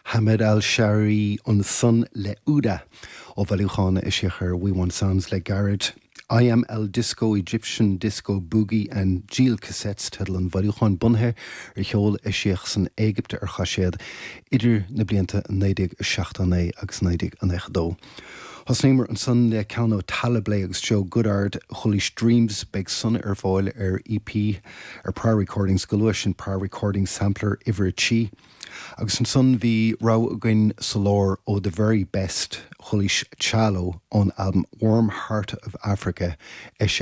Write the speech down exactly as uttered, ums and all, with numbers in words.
Hamed Al Shari ansan le Uda ó bhailiúchán a eisíodh ar We Want Sounds le gairid. I am El Disco Egyptian Disco Boogie and Jeel Cassettes teideal an bhailiúcháin bunaithe ar cheol a eisíodh san Éigipt ar chaiséad idir na blianta naoi déag seachtó naoi agus naoi déag nócha dó. Thosnaíomar ansan le ceann ó Taliblé agus Joe Goddard Chulish Dreams beidh san ar fáil ar EP ar Prior Recordings go luath sin Prior Recordings Sampler uimhir a trí. Agus ansan bhí rogha againn sa lár ó The Very Best Chulish Chalo ón album Warm Heart of Africa.